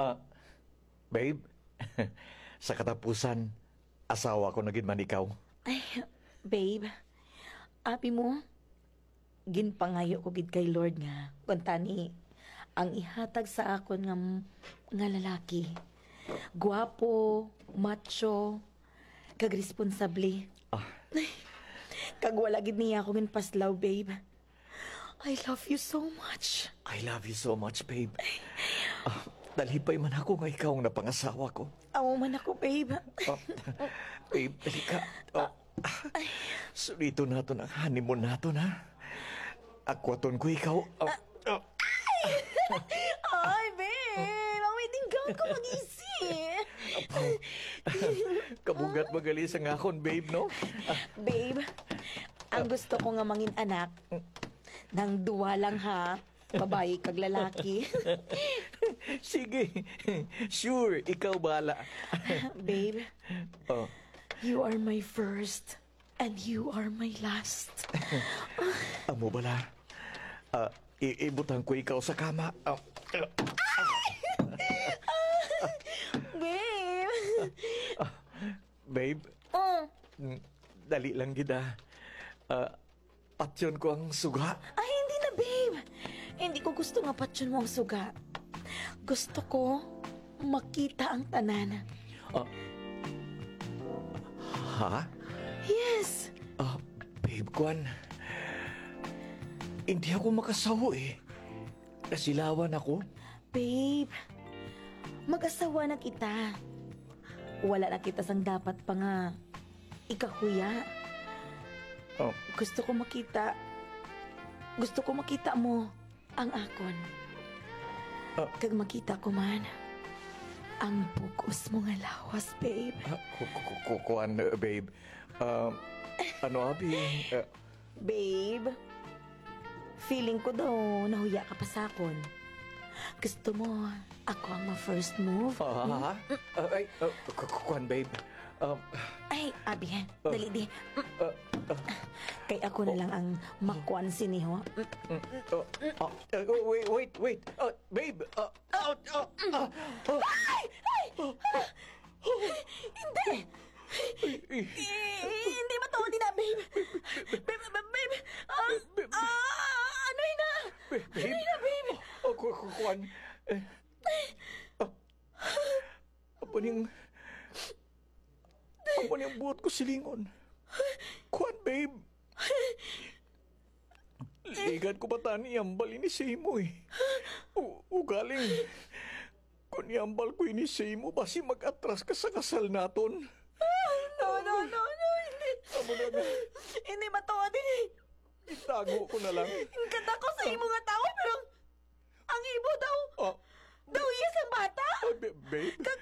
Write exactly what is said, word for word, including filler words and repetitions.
Ah, babe, sa katapusan, asawa ko na gid man ikaw. Ay, babe, abi mo, ginpangayo ko gid kay Lord nga, kuntani, ang ihatag sa akon nga, nga lalaki, guwapo, macho, kag responsable. Ah. Kag wala gid niya ako ginpaslaw, babe. I love you so much. I love you so much, babe. Ah, dalhipay man ako nga ikaw ang napangasawa ko. Amo man ako, babe. Ah, babe, dali ka. Ah, suliton naton ang honeymoon naton, ha? Akwaton ko ikaw. Ah, ah. Ay, babe! Ang wedding gown ko mag-isi! Apaw. Kabugat magali sa ngakon, babe, no? Babe, ang gusto ko nga mangin anak, nang duwa lang, ha? Babayi kag lalaki. Sige. Sure, ikaw bahala. Babe, Oh. you are my first and you are my last. Amo bala. Ah, i- ibutang ko ikaw sa kama. Ah, Babe! Babe, Oh. Mm, dali lang gid, ah. Ah, patyon ko ang suga. Ay, hindi na, babe. Hindi ko gusto nga patyon mo ang suga. Gusto ko makita ang tanan. Ah. Ha? Yes. Ah, babe, kwan. Hindi ako makasaho eh. Nasilawan ako. Babe, mag-asawa na kita. Wala na kita sang dapat pa nga ikahuya. Oh. Gusto ko makita, gusto ko makita mo ang akon. Ah. Kag makita ko man ang bug-os mo nga lawas, babe. Ah, ku-, ku-, ku-, ku-, kuan, eh, babe. Ah, ano, abi? Eh, Babe, feeling ko daw nahuya ka pa sa akon. Gusto mo, ako ang ma-first move? Ah, ha? Ah, ay, ah, ku-, ku-, kuan, babe. Um, Ay, abi, ah, dali di. Ah, ah. Kay ako na lang ang makuan sini, ho. Mm, oh, ah, ah, wait, wait, wait. Ah, babe, ah, ah, ah, ah, ah. Ay! Ay! Ah! Hindi! Ay, ay. Eh, hindi matuod ina, babe. Babe, babe, babe. Ah, Babe, babe. Ah, ano ina? Babe, babe. Ano ina, babe? Ako, ako, kuan. Eh. Ah. Amo ning, amo ning buot ko silingon. Kuan, babe. Ligan ko pa tani ambal ini sa imo, eh. U-, ugaling, kung iambal ko ini sa imo, basi mag-atras ka sa kasal naton. No, no, no, no, hindi. Amo na na. Hindi matuod ini. Itago ko na lang. Ang ganda ko sa imo nga tawo, pero ang imo daw, Oh. daw iya sang bata. Oh, ba-, babe. Kag,